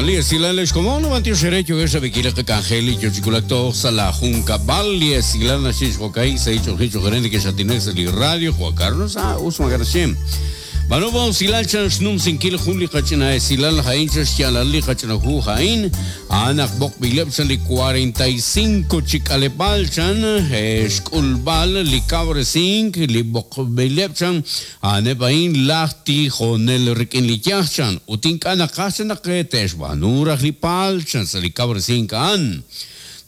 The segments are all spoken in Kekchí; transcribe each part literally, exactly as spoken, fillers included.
Li esilal como no bantio xere yo esa bikile que cangeli yo chiculacto sala junca bal li esilal na xix jokai se hicho hicho gerente que xatinex li radio Juan Carlos ah usma garchem Banobo silal chan shnum sinkil jun li qachina esilal hain xyalal li qachina hu hain anak bok bilep chan li cuarenta y cinco chikalepal chan xkulbal li cabresink li bok bilep chan anepain lahti jonel rikin li yach chan utinka naqash naqetesh banuraj li pal chan sa li cabresink an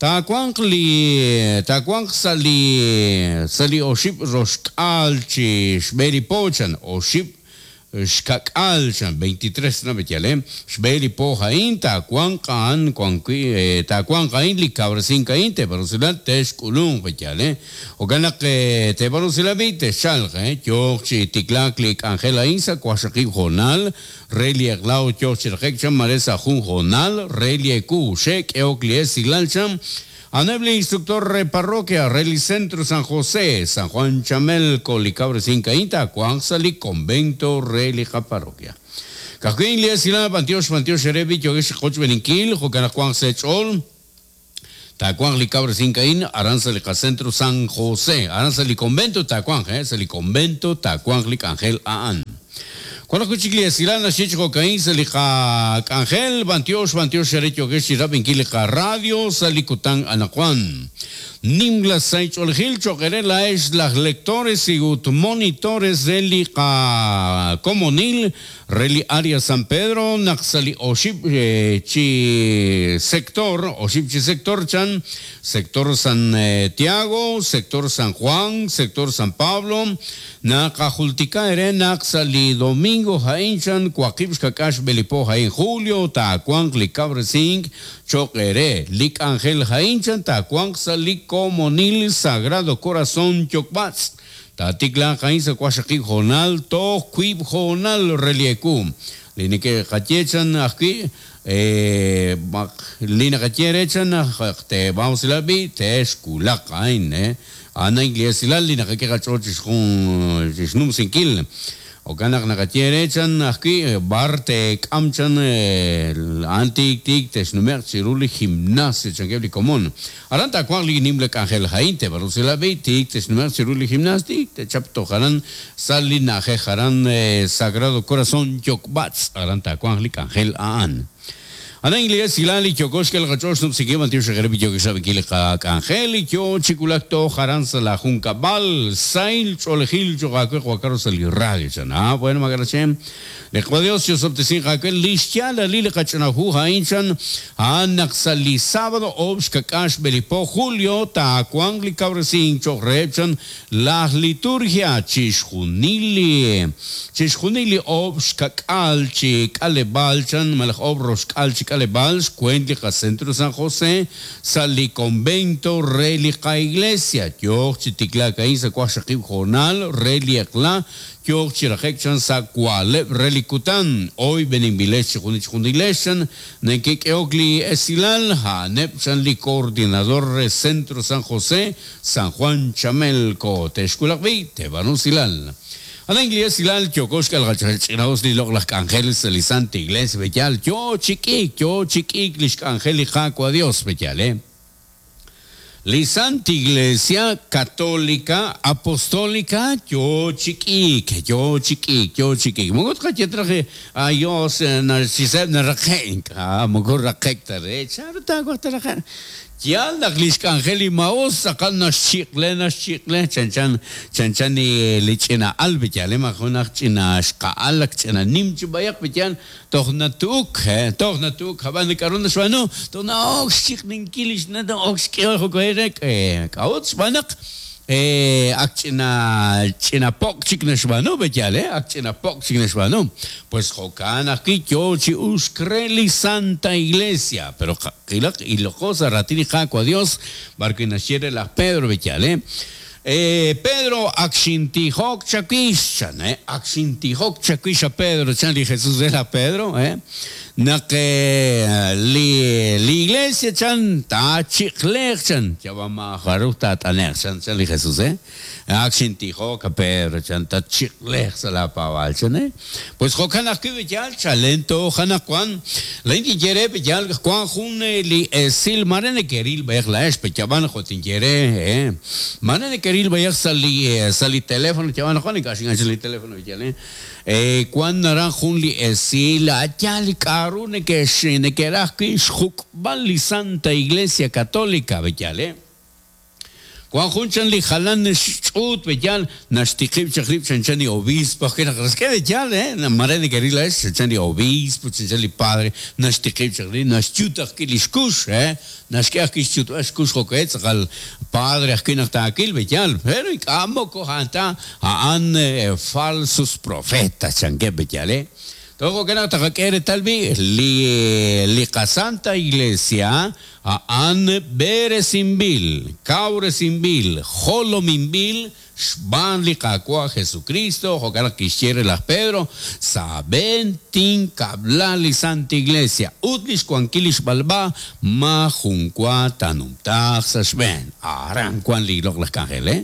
Tacuanq li tacuanq sali sali oship roshkal chi xbeli pochan oship xkakal chan veintitrés na betiale xbeli po jain tacuanq an cuanqui tacuanq ain li cabresin kain te barusila texkulun betiale o ganak te barusila bi te xalje yo chi tiklak li angel ain sa cuashaqi jonal reli eglao yo chirjek chan maresa jun jonal reli eku shek eokli esilal chan Aneble instructor re parroquia, Reli Centro San José, San Juan Chamelco, Licabre Cincainta, Juan Sali, Convento, Reli Parroquia. Cajuín, Lia Pantiosh, Pantiosh, Erebi, Yogesh, Joch Beninquil, Jocana Juan Sechol, Tacuán, Licabre Cincaín, Aranza, Lica Centro San José, Aranza, Li Convento, Tacuán, eh, Sali Convento, Tacuán, Lic Ángel, Aan. Cuando escuché silana chico caín se lija Ángel Bantiosh Bantiosh Erecho que Rabinquilica Radio Salicután Anacuán Nimla Saich Olgil Choquerela es las lectores y ut monitores de Lica Comunil Reli Área San Pedro Naxali Oship Chi Sector Oship Chi Sector Chan Sector San Tiago Sector San Juan Sector San Pablo Nakajultica Ere Naxali Domingo Jainchan Cuaquibs Kakash Belipo Jain Julio Tacuan Licabresing Choquere Lic Ángel Jainchan Tacuan Sali Comonil Sagrado Corazón Chocbats Tatikla Jainsa Cuashaki Jonal To Quib Jonal Relieku Linike Kachechan aquí eh Lina Kacherechan te vamos la bi te esculak ain eh Ana Iglesia Lina Kakechochis con Shnum Sinkil O kanak nakatierechan aquí barte kamchan antik tik tesnumer chiruli gimnasio changebli común. Aranta cuan li nimle angel jainte barusela bi tik tesnumer chiruli gimnastik te chapto jaran salina jaran sagrado corazón yokbats aranta cuan li angel aan. Ana inglés silali chokoshkel gachosh no psique tío shagrebi yo que sabe que le angel yo chiculacto jaranza la junca bal sail cholejil chogaque juacaros el radio ah bueno magarachem le Dios yo sobtesin jaque listiala lile cachanahu hainchan anaxali sábado obskakash belipo julio tacuangli cabresin chorrechan la liturgia chishjunili chishjunili obskakal chikalebalchan malaj obroskal Alebals, Cuéntica, Centro San José, Sali Convento, Relica Iglesia, Yoch, Chiticlaca, Isa, Cuashaqib, Jonal, Reliacla, Yoch, Chirajechan, Sacuale, Relicután, hoy Benimbilech, Junich, Nekek, Eocli, Esilal, Hanep, Sanli, Coordinador, Centro San José, San Juan Chamelco, Texculacbi, Tebanusilal. Ana inglés silal chokoshka al gachinaos li log las ángeles el santa iglesia bellal yo chiqui yo chiqui lish angélica a Dios bellal eh li santa iglesia católica apostólica yo chiqui yo chiqui yo chiqui mogot kachetraje a Dios narciseb narqenk ah mogot raqekta re charta guataraja Ya la angeli maos sacan chicle na chicle chan chan chan chan ni lichina albichale majuna china shqalak china nimchi bayak bichan tohnatuk tohnatuk haban karuna shwanu tona ox chikninkilish na ox keo koerek eh kaots banak eh akchina china pok chikna shwanu bechale akchina pok chikna shwanu pues jokan aquí yo chi uskreli Santa Iglesia pero y lo cosa ratini jaco a Dios barco y naciere la Pedro bechale. Eh, Pedro akxintijok chawix chan, eh? Akxintijok chawix a Pedro chan li Jesús era Pedro, eh? Naq eh, li, li iglesia chan ta chiqleq chan yabama jaruj ta t'aneq chan chan li Jesús, eh? Akxintijok a Pedro chan ta chiqleq sa la pawal chan, eh? Pues jo'kan ajwi' b'yal chalento janaq wan lain tinyere b'yal Juan jun li esil mare keril b'ej la ex pechaban jo tinyere, eh? Mare keril b'ej sa li sa li teléfono chaban Juan ik'axin li teléfono b'yal, eh? Eh, Juan naran jun li esil ayal k'aru nekex nekeraj wi' xjuk'b'al li Santa Iglesia Católica b'yal, eh? Juan jun chan li jalan xch'ut b'yal naxtiqib' chaq rib' chan chan li obispo que naq ke b'yal, eh? Mare nekeril la ex chan li obispo chan chan li padre naxtiqib' chaq rib' naxyut ajwi' li xkux, eh? Naxk'e ajwi' xyutb'al xkux jo'ke tz'aqal padre ajwi' naq taakil b'yal, pero ink'a' moko ja'anta a'an eh, falsos profetas chankeb' b'yal, eh? Todo que naq taqak'e reetal bi' li li qasanta Iglesia a'an beresinb'il, kawresinb'il, jolominb'il xb'aan li Qaawa' Jesucristo, jo'kan naq kixye laj Pedro, saben tinkab'la li Santa Iglesia ut li xwankil li xb'alb'a ma junwa tanumtaaq sa' xb'een. Aran wan li loq'laj k'anjel, eh?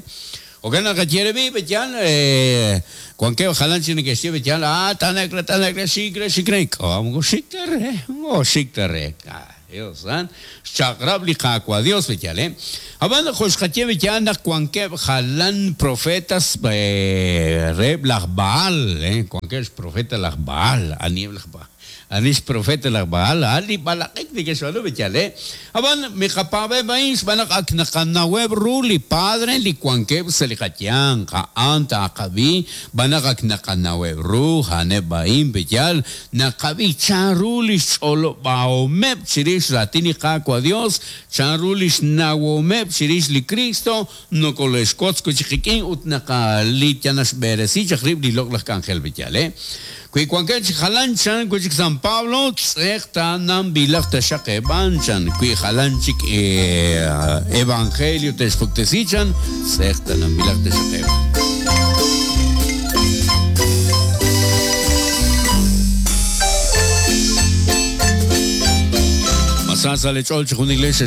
Jo'kan naq qayere bi' b'yal, eh, Juan ke jalan chi nekexye b'yal, ah, tanekre, tanekre, xikre, xikre, k'o xikre, oh, xikre. Ah, Dios, ah? Xchaq'rab' li Qaawa' Dios b'yal, eh? Ab'an jo xqaye b'yal naq wankeb' jalan profetas, eh, reheb' laj Baal, eh? Wankeb' xprofeta laj Baal, aniheb' laj Baal. Anix profeta laj Baal, ali balaqik nekexb'aanu b'yal, eh? Ab'an miqapaab'eb' a'in xb'aan naq ak naqanaweb' ru li padre li wankeb' sa' li qayanq, a'an taqab'i, b'an naq ak naqanaweb' ru, a'aneb' a'in b'yal, naqab'i chan ru li xch'olob'ahomeb' chirix raatin li Qaawa' Dios, chan ru li xnawomeb' chirix li Cristo, nokole'xwotz wi' chik qik'in ut naqali yanaxb'eresi chaq rib' li loq'laj k'anjel b'yal, eh? Wi wankeb' chik jalan chan wi' chik San Pablo, tz'eq tananb'ilaq taxaq eb'an chan, wi jalan chik, eh, evangelio texpuktesi chan, tz'eq tananb'ilaq taxaq eb'an. Masasa le ch'ol chi jun iglesia.